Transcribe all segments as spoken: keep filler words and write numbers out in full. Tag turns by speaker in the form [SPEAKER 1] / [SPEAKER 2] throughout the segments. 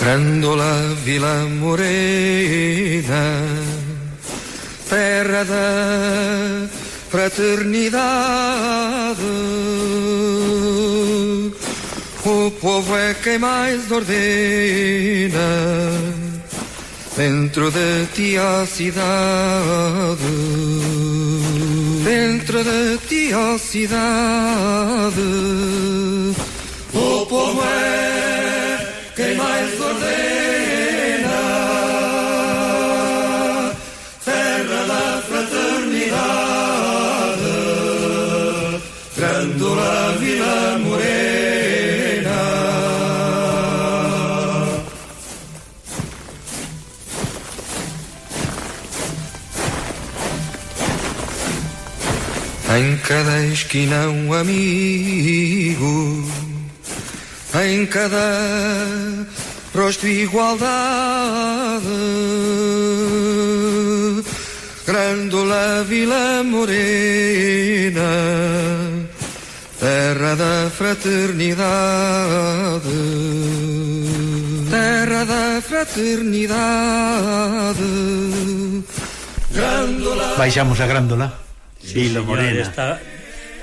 [SPEAKER 1] Grândola Vila Morena, terra da fraternidade, o povo é quem mais ordena dentro de ti a cidade, dentro de ti a cidade, o povo é quem mais ordena, terra da fraternidade, Grândola Vila Morena. Em cada esquina um amigo, em cada rosto igualdade, Grândola Vila Morena, terra da fraternidade, terra da fraternidade, Grândola.
[SPEAKER 2] Baixamos a Grândola Vila
[SPEAKER 3] Sí,
[SPEAKER 2] Morena,
[SPEAKER 3] está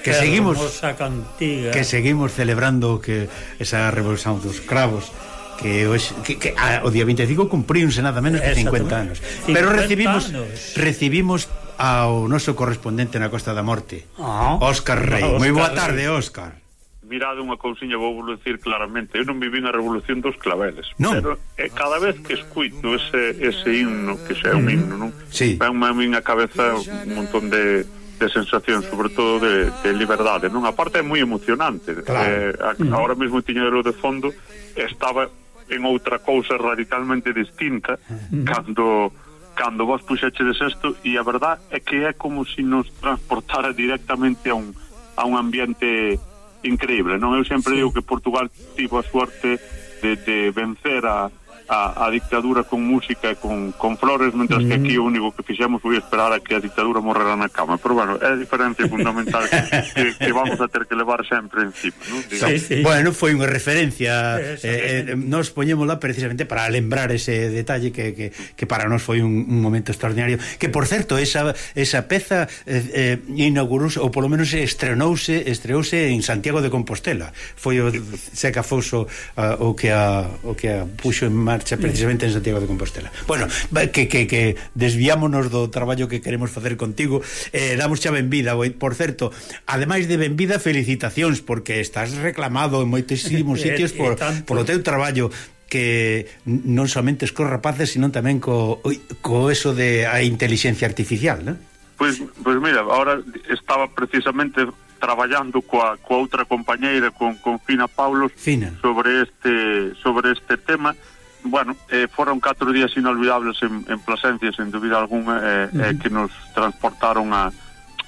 [SPEAKER 2] que seguimos
[SPEAKER 3] cantiga.
[SPEAKER 2] que seguimos celebrando que esa revolución dos cravos que, hoxe, que, que a, o día veinticinco cumpríunse nada menos que cincuenta anos. Pero recibimos anos. recibimos ao noso correspondente na Costa da Morte, ah, Óscar Rey. No, moi boa tarde, Óscar.
[SPEAKER 4] Mirade unha cousiña, vou vos decir claramente, eu non viví na revolución dos claveles,
[SPEAKER 2] non.
[SPEAKER 4] Pero eh, cada vez que escuito ese, ese himno, que xa é un himno, non?
[SPEAKER 2] Sí.
[SPEAKER 4] Venme a miña cabeza un montón de de sensación, sobre todo de, de liberdade, non? A parte é moi emocionante,
[SPEAKER 2] claro.
[SPEAKER 4] eh, a, ahora mesmo tiñero de fondo, estaba en outra cousa radicalmente distinta mm. cando cando vos puxechedes isto, e a verdad é que é como se si nos transportara directamente a un, a un ambiente increíble, non? Eu sempre sí. digo que Portugal tivo a suerte de, de vencer a A, a dictadura con música e con, con flores, mentras mm. que aquí o único que fixemos foi esperar a que a dictadura morrera na cama. Pero bueno, é a diferencia fundamental que, que vamos a ter que levar sempre encima, non?
[SPEAKER 2] Sí, sí. Bueno, foi unha referencia, eh, eh, nos poñémola precisamente para lembrar ese detalle que, que, que para nós foi un, un momento extraordinario, que por certo esa, esa peza eh, eh, inaugurouse, ou polo menos estrenouse estreouse en Santiago de Compostela. Foi o Seca Foso uh, o que a, o que a puxo en marcha precisamente en Santiago de Compostela. Bueno, que, que, que desviámonos do traballo que queremos facer contigo, eh, damos xa benvida. Por certo, ademais de benvida, felicitacións, porque estás reclamado en moitísimos sitios por, por o teu traballo, que non somente cos rapaces, sino tamén co, co eso de a inteligencia artificial, non?
[SPEAKER 4] Pois, pois mira, ahora estaba precisamente traballando coa, coa outra compañeira, con, con Fina Paulos,
[SPEAKER 2] Fina. sobre
[SPEAKER 4] este sobre este tema. Bueno, eh, foron catro días inolvidables en, en Plasencia, sen dúbida alguna, eh, uh -huh. eh, que nos transportaron a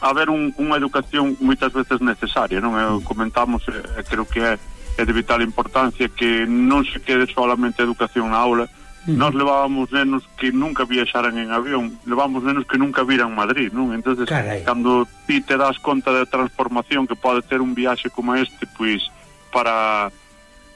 [SPEAKER 4] a ver un, unha educación moitas veces necesaria, non? Eh, comentamos, eh, creo que é, é de vital importancia que non se quede solamente a educación na aula. Uh -huh. Nós levábamos nenos que nunca viaxaran en avión, levábamos nenos que nunca viran Madrid, non? Entonces, Carai. Cando ti te das conta da transformación que pode ter un viaxe como este, pois, para...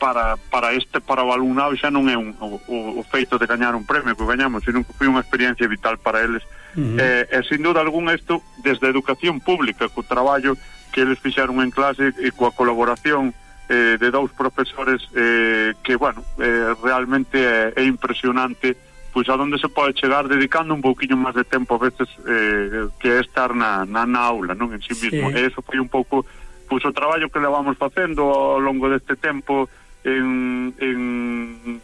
[SPEAKER 4] para para este para o alumnado xa non é un, o, o feito de gañar un premio que gañamos, sino que foi unha experiencia vital para eles. Uh -huh. eh, e sin duda alguna isto desde a educación pública, co traballo que eles fixeron en clase e coa colaboración eh, de dous profesores eh, que, bueno, eh, realmente é, é impresionante pois a donde se pode chegar dedicando un pouquiño máis de tempo a veces eh, que é estar na, na, na aula, non en sí mismo. Sí. E eso foi un pouco pois o traballo que levamos facendo ao longo deste tempo en, en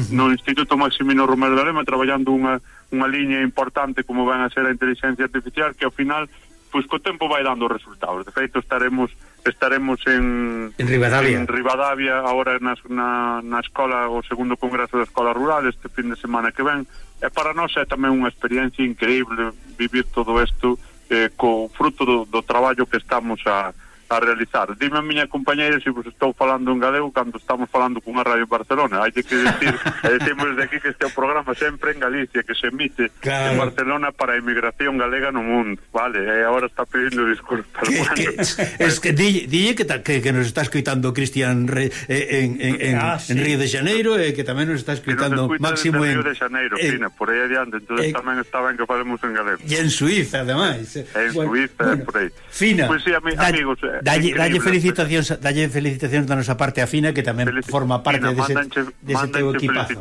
[SPEAKER 4] no Instituto Maximino Romero de Lema, traballando unha, unha liña importante como van a ser a inteligencia artificial, que ao final pois co tempo vai dando resultados. De feito estaremos estaremos en
[SPEAKER 2] en Rivadavia,
[SPEAKER 4] en Rivadavia agora na, na, na escola, o segundo congreso da escola rural este fin de semana que ven, e para nós é tamén unha experiencia increíble vivir todo isto eh, co fruto do, do traballo que estamos a a realizar. Dime a miña compañeira se vos estou falando en galego cando estamos falando cunha radio en Barcelona. Hai que decir, e decimos desde aquí que este é o programa sempre en Galicia, que se emite claro. en Barcelona para a emigración galega no mundo, vale? E agora está pedindo disculpas.
[SPEAKER 2] Que, que, es que dille, dille que, que, que nos está escoitando Cristian Re, eh, en, en, en, ah, sí. en Río de Janeiro e eh, que tamén nos está escoitando Máximo en
[SPEAKER 4] Río de Janeiro, eh, Fina, por aí adiante, entonces eh, tamén está ben que falemos en galego.
[SPEAKER 2] E en Suiza, ademais.
[SPEAKER 4] En bueno, Suiza, bueno, por aí.
[SPEAKER 2] Fina.
[SPEAKER 4] Pois pues, sí, ami, da, amigos,
[SPEAKER 2] dalle, dalle felicitacións, dalle felicitacións da nosa parte a Fina, que tamén Felici forma parte Fina, dese,
[SPEAKER 4] mandanche,
[SPEAKER 2] dese teu equipazo.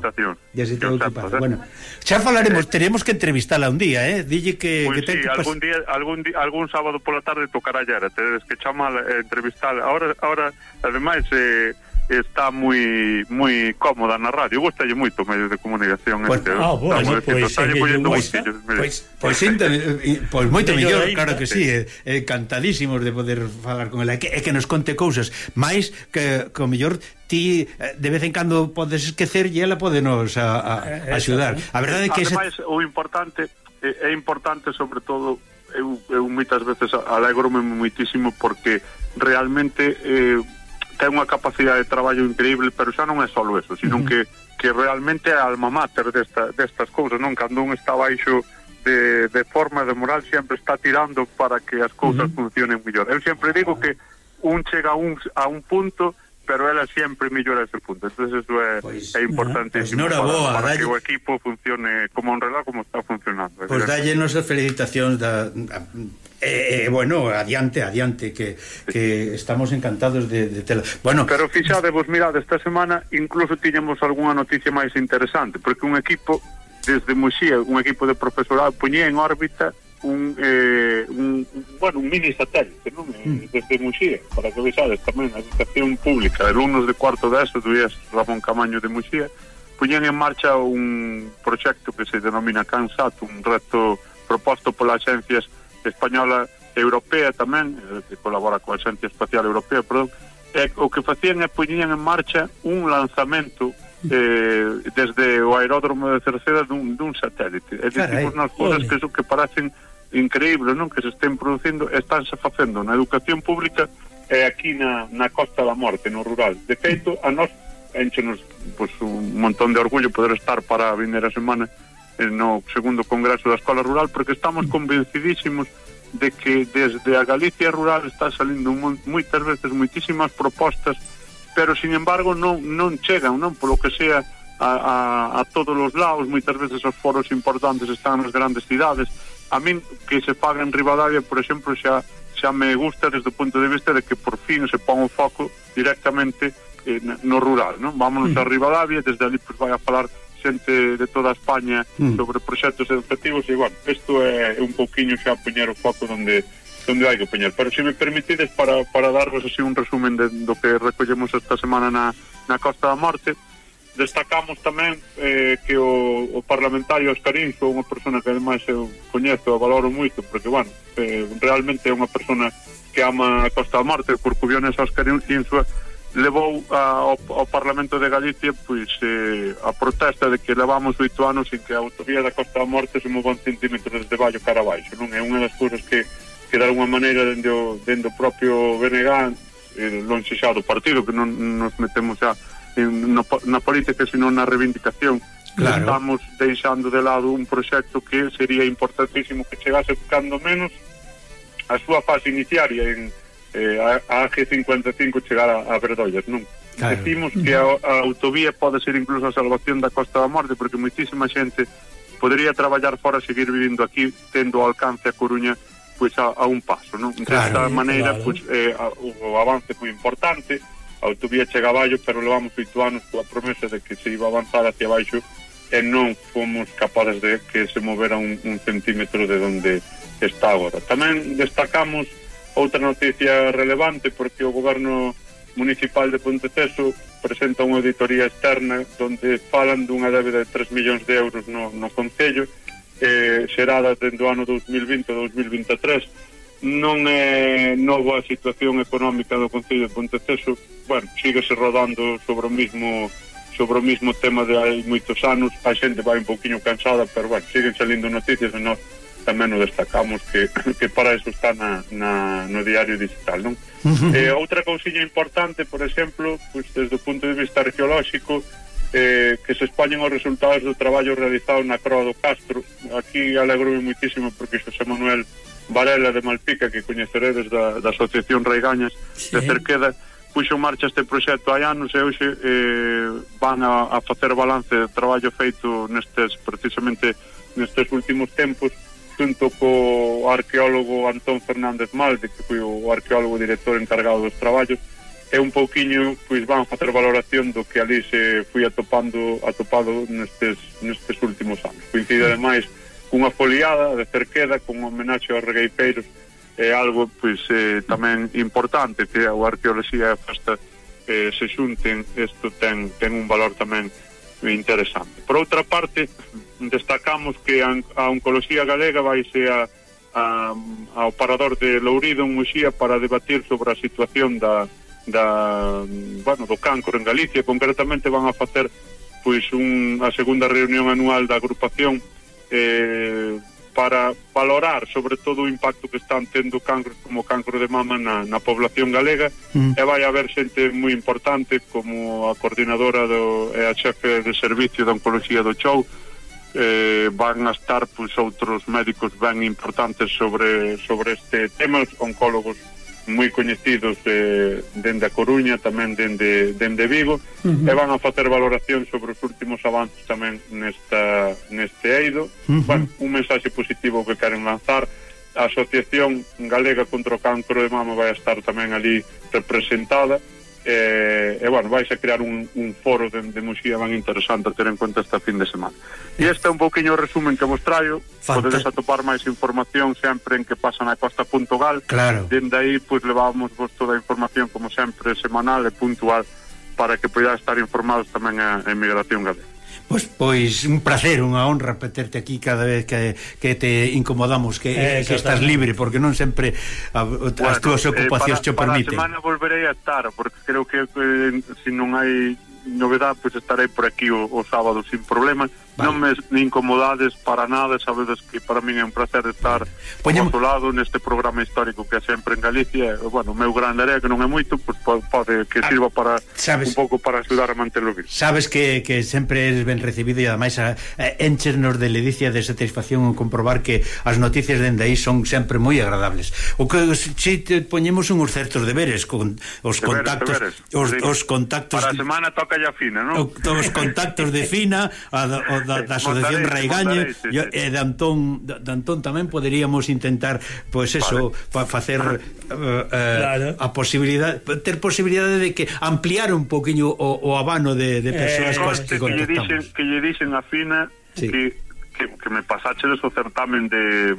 [SPEAKER 2] Dese teu equipazo. Eh? Bueno, xa falaremos, teremos que entrevistala un día, eh? Dille que
[SPEAKER 4] pues
[SPEAKER 2] que
[SPEAKER 4] sí,
[SPEAKER 2] ten
[SPEAKER 4] algún día, algún día, algún sábado pola tarde tocará allá, tedes que chamar eh, entrevistar. Ahora ahora ademais eh está moi moi cómoda na radio, gustalle moito medios de comunicación
[SPEAKER 2] pues,
[SPEAKER 4] este.
[SPEAKER 2] Ah, bueno, pois pues, pois pois pois moito mellor, claro que sí, eh, eh, cantadísimos de poder falar con ela, e que, que nos conte cousas, máis que co mellor ti de vez en cando podes esquecer e ela podenos a, a, a axudar. A verdade é que
[SPEAKER 4] ademais ese... o importante é, é importante sobre todo eu, eu moitas veces alegrome moitísimo porque realmente eh, ten unha capacidade de traballo increíble, pero xa non é só eso, sino uh -huh. que, que realmente é a alma mater desta, destas cousas, non? Cando un está baixo de, de forma de moral sempre está tirando para que as cousas uh -huh. funcionen mellor. Eu sempre digo que un chega a un, a un punto, pero ela sempre mellora ese punto. Entonces eso é, pues, é importantísimo
[SPEAKER 2] pues,
[SPEAKER 4] para, para
[SPEAKER 2] dalle...
[SPEAKER 4] que o equipo funcione como un reloj como está funcionando.
[SPEAKER 2] Pois pues dalle nos as felicitacións da... Eh, eh, bueno, adiante, adiante que, que estamos encantados de, de tela. Bueno,
[SPEAKER 4] pero fixadevos, mirad, esta semana incluso tiñamos algunha noticia máis interesante, porque un equipo desde Muxía, un equipo de profesorado poñía en órbita un, eh, un, bueno, un mini satélite, non? Mm. Desde Muxía, para que vexades tamén a educación pública de alumnos de cuarto de eso, do I E S Ramón Camaño de Muxía, poñían en marcha un proxecto que se denomina CANSAT, un reto proposto pola Axencias Española Europea tamén, que colabora coa Axencia Espacial Europea, perdón, e o que facían é poñían en marcha un lanzamento eh, desde o aeródromo de Cerceda dun, dun satélite. E dicimos nas cousas que, que parecen increíbles, non? Que se estén producindo, estánse facendo na educación pública e aquí na, na Costa da Morte, no rural. De feito, a nós enchenos pues, un montón de orgullo poder estar para a vindeira semana no segundo congreso da Escola Rural, porque estamos convencidísimos de que desde a Galicia rural está salindo moitas veces moitísimas propostas, pero sin embargo non, non chegan, non polo que sea a, a, a todos os lados. Moitas veces os foros importantes están nas grandes cidades. A min que se faga en Ribadavia, por exemplo, xa, xa me gusta desde o punto de vista de que por fin se pon o foco directamente eh, no rural, non? Vámonos mm. a Ribadavia, desde ali pues, vai a falar xente de toda España mm. sobre proxectos educativos e, bueno, isto é un pouquiño xa poñer o foco donde donde hai que poñer. Pero se me permitides para, para darvos así un resumen de, do que recollemos esta semana na, na Costa da Morte, destacamos tamén eh, que o, o parlamentario Oscarín é unha persona que ademais eu coñezo e valoro moito, porque, bueno, eh, realmente é unha persona que ama a Costa da Morte. O corcubiones Oscarín Insua levou a, ao, ao Parlamento de Galicia pois eh, a protesta de que levamos oito anos en que a autovía da Costa da Morte se move un centímetro desde Vallo cara abaixo, non? É unha das cousas que, que de alguma maneira dende o, dende o propio B N G eh, lonxe xa do partido, que non nos metemos xa en, no, na política, sino na reivindicación. Claro. Estamos deixando de lado un proxecto que sería importantísimo que chegase cando menos a súa fase iniciaria en Eh, a, a G cincuenta e cinco chegar a, a Verdollas, non? Claro. Decimos que a, a autovía pode ser incluso a salvación da Costa da Morte, porque moitísima xente podría traballar fora, seguir vivindo aquí, tendo ao alcance a Coruña pois a, a un paso, non? Claro, desta maneira, claro. Pois, eh, a, o avance foi importante, a autovía chega a Vallo, pero levamos oito anos coa promesa de que se iba a avanzar hacia baixo e non fomos capaces de que se movera un, un centímetro de donde está agora. Tamén destacamos outra noticia relevante, porque o goberno municipal de Ponteceso presenta unha auditoría externa onde falan dunha débeda de tres millóns de euros no, no Concello, eh, xerada dende o ano dos mil vinte a dos mil vinte e tres. Non é nova a situación económica do Concello de Ponteceso, bueno, síguese rodando sobre o mismo sobre o mismo tema de hai moitos anos. A xente vai un pouquiño cansada, pero bueno, siguen salindo noticias e nós tamén o destacamos que, que para eso está na, na, no diario digital, non? Uh-huh. Eh, outra cousiña importante, por exemplo, pues, desde o punto de vista arqueolóxico, eh, que se expoñen os resultados do traballo realizado na Croa do Castro. Aquí alegro-me muitísimo porque Xosé Manuel Varela de Malpica, que coñeceredes da, da Asociación Reigañas, sí, de Cerqueda, puxo en marcha este proxecto hai anos e hoxe eh, van a, a facer balance de traballo feito nestes, precisamente nestes últimos tempos, junto co arqueólogo Antón Fernández Malde, que foi o arqueólogo director encargado dos traballos, e un pouquiño pois van a facer valoración do que ali se foi atopando atopado nestes, nestes últimos anos. Coincide ademais cunha foliada de Cerqueda con homenaxe aos regueipeiros, é algo pois eh, tamén importante que a arqueoloxía e a festa eh, se xunten. Isto ten, ten un valor tamén interesante. Por outra parte, destacamos que a, a oncoloxía galega vaise a, a, ao parador de Lourido en Muxía para debatir sobre a situación da, da bueno, do cancro en Galicia. Concretamente van a facer pois un, a segunda reunión anual da agrupación eh, para valorar sobre todo o impacto que están tendo cancros como cancro de mama na, na población galega. Mm. E vai haber xente moi importante como a coordinadora do, e a xefe de servicio de oncoloxía do Chou. Eh, van a estar pois, outros médicos ben importantes sobre, sobre este tema, os oncólogos moi coñecidos eh, dende a Coruña, tamén dende, dende Vigo, uh-huh. e van a facer valoración sobre os últimos avances tamén nesta, neste eido. Uh-huh. Bueno, un mensaxe positivo que queren lanzar. A Asociación Galega contra o Cancro de Mama vai a estar tamén ali representada, e, e bueno, vais a crear un, un foro de, de Muxía ben interesante a ter en conta esta fin de semana. E este é un pouquinho o resumen que vos traio. Podedes atopar máis información sempre en que pasa na costa punto gal.
[SPEAKER 2] Claro.
[SPEAKER 4] Dende aí, pois, levamos vos toda a información, como sempre, semanal e puntual, para que poidades estar informados tamén a emigración galega.
[SPEAKER 2] Pois, pois un placer, unha honra terte aquí cada vez que, que te incomodamos, que, eh, que estás libre, porque non sempre a, bueno, as túas ocupacións eh, te permiten.
[SPEAKER 4] Para a semana volverei a estar, porque creo que eh, se non hai novedade, pois estarei por aquí o, o sábado sin problema. Vale. Non me incomodades para nada, sabedes que para min é un placer estar Poñemos... ao lado neste programa histórico que é sempre en Galicia. Bueno, o meu gran área que non é moito, pois pode que sirva para sabes, un pouco para axudar a manterlo vivo.
[SPEAKER 2] Sabes que, que sempre eres ben recibido e ademais a, a, enchernos de ledicia, de satisfacción en comprobar que as noticias dende aí son sempre moi agradables. O que si te poñemos uns certos deberes con os deberes, contactos deberes. Os, os contactos
[SPEAKER 4] para a semana toca ya Fina, non?
[SPEAKER 2] Os contactos de Fina a, a, da, da Asociación Raigaña sí, sí. E de Antón, de Antón tamén poderíamos intentar pois pues eso, vale. pa facer uh, uh, claro. a posibilidade ter posibilidade de que ampliar un poquinho o, o abano de, de persoas eh, coas que contactamos.
[SPEAKER 4] Que lle dixen, que lle dixen a Fina sí. que Que, que me pasachedes o certamen de,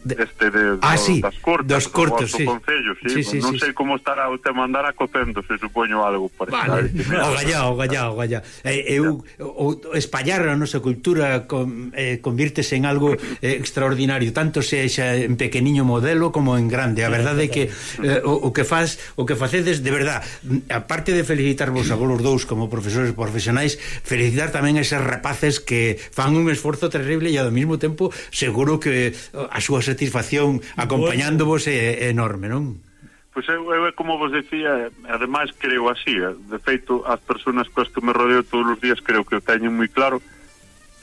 [SPEAKER 4] de este de,
[SPEAKER 2] ah,
[SPEAKER 4] do,
[SPEAKER 2] sí,
[SPEAKER 4] das cortes,
[SPEAKER 2] dos cortes, sí.
[SPEAKER 4] Concello, sí. Sí, sí, non sí, sei sí. como estará o tema, andará cocendo, se supoño algo
[SPEAKER 2] vale. O gallá, o gallá, o gallá. Eh, eu, o, o espallar a nosa cultura con, eh, convírtese en algo eh, extraordinario, tanto sexa en pequeniño modelo como en grande. A verdade é que eh, o, o que faz, o que facedes de verdade, aparte de felicitarvos a vos dous como profesores profesionais, felicitar tamén a eses rapaces que fan un esforzo terrible e ao mesmo tempo seguro que a súa satisfacción acompañándovos é, é enorme, non?
[SPEAKER 4] Pois eu, eu como vos decía, ademais creo así, de feito as persoas coas que me rodeo todos os días creo que o teñen moi claro.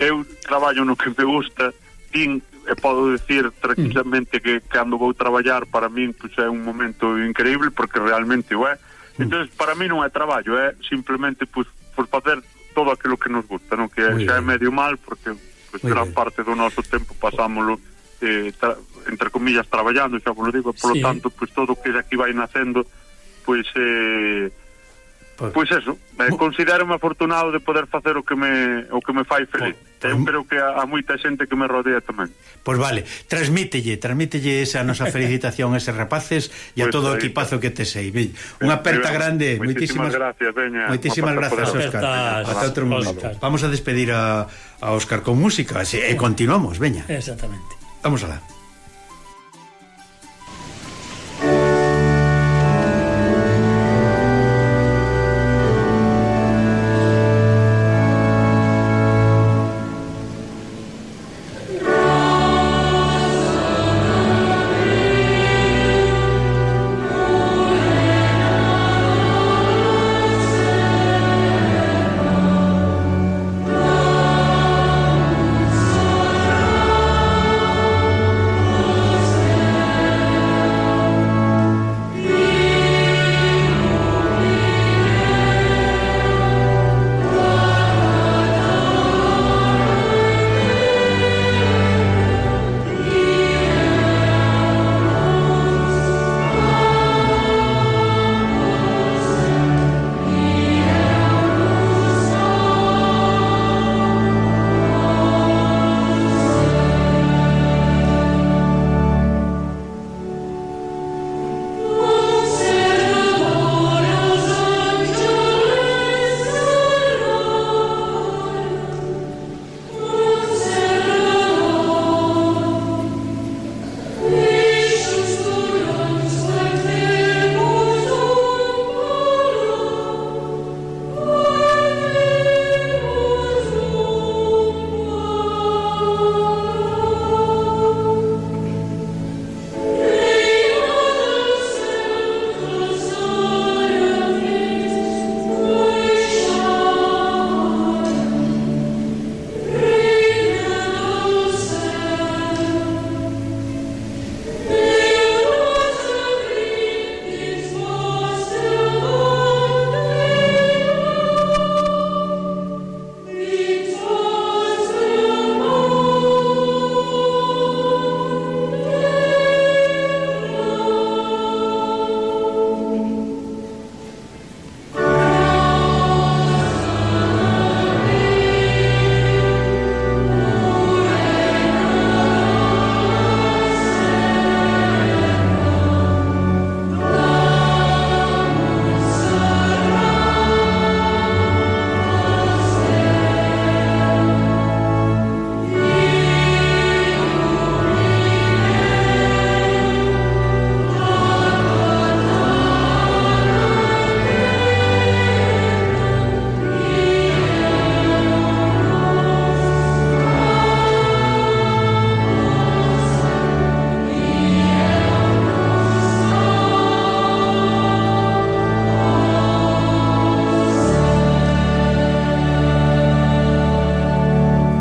[SPEAKER 4] Eu traballo no que me gusta, din, e podo decir tranquilamente mm. que cando vou traballar para min pois é un momento increíble porque realmente o é. Mm. Entón para mí non é traballo, é simplemente pois, por facer todo aquilo que nos gusta, non? Que muy xa bien. É medio mal porque pues gran bien. Parte do noso tempo pasámoslo eh, tra, entre comillas traballando, xa vos lo digo, por lo sí. tanto, pues todo o que aquí vai nacendo pois eh, pues, pois eso, eh, considero-me afortunado de poder facer o que me o que me fai feliz. Pues, eu creo que a, a moita xente que me rodea tamén.
[SPEAKER 2] Pois pues vale, transmítelle, transmítelle esa nosa felicitación a eses rapaces e a pues todo o equipazo que te sei. Unha aperta grande, moitísimas
[SPEAKER 4] gracias, veña.
[SPEAKER 2] Moitísimas grazas, Óscar. Hasta outro momento. Vamos a despedir a, a Óscar con música e continuamos, veña.
[SPEAKER 3] Exactamente.
[SPEAKER 2] Vamos alá.